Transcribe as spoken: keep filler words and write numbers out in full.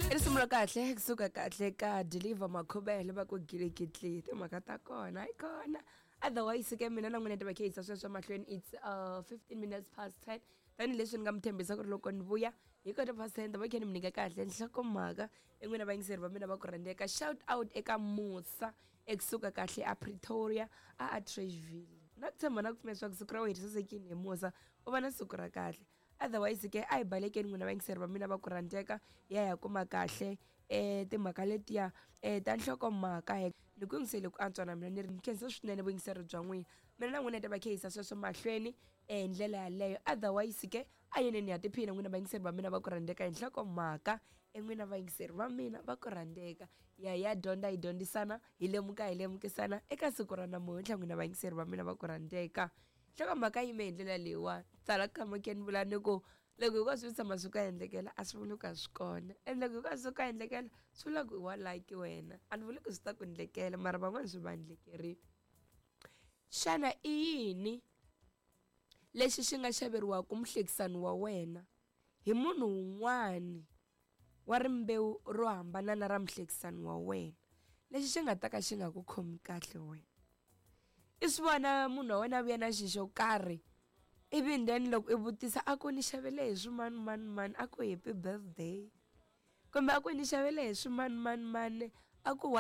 I risimu ra kahle kusuka kahle ka Deliver Makhubele va ku gilikitli timhaka ta kona hayi kona. Otherwise ke mina na n'wina ta va khe yisa sweswo mahlweni. It's uh, fifteen minutes past ten, tanihileswi ni nga mi tshembisa ku ri loko ni vuya hi kota past ten ta va khe ni mi nyika kahle nhlokomhaka. En'wina vayingiseri va mina va ku rhandzeka, shout out eka Musa ekusuka kahle a Pretoria a Atteridgeville. Na ku tshemba na ku pfumela leswaku siku ra wena ri sasekile hi Musa, u va na siku ra kahle. Otherwise ke a hi balekeni n'wina vayingiseri va mina va ku rhandzeka, ya ya kuma kahle um timhaka letiya um ta nhlokomhaka. Ni ku yingisele ku antswa na mina ni ri ni khensa swinene vuyingiseri bya n'wina. Mina na n'wina hi ta va khe yisa sweswo mahlweni hi ndlela yaleyo. Otherwise ke a yeneni ha tiphina n'wina vayingiseri va mina va ku rhandzeka hi nhlokomhaka. En'wina vayingiseri va mina va ku rhandzeka, ya ya dyondza hi dyondzisana, hi lemuka hi lemukisana eka siku ra namuntlha. N'wina vayingiseri va mina va ku rhandzeka, nhlokomhaka yime hi ndlela leyiwani. Tsala khamake ni vula ni ku loko hinkwaswo swi tshama swi ku endlekela a swi vuli ku a swi kona, and loko hinkwaswo swi ku endlekela swi vula ku i wa lucky wena. A ni vuli ku swi ta ku endlekela, mara van'wana swi va endlekerile. Xana i yini lexi xi nga xaveriwaka muhlekisani wa wena hi munhu wun'wani wa rimbewu ro hambana na ra muhlekisani wa wena, lexi xi nga ta ka xi nga ku khomi kahle wena? I swi vona munhu wa wena a vuya na xi xo karhi, ivi then loko i vutisa a ku ni xavele hi swimani mani mani, a ku happy birthday, kumbe a ku ni xavele hi swimani mani mani, a ku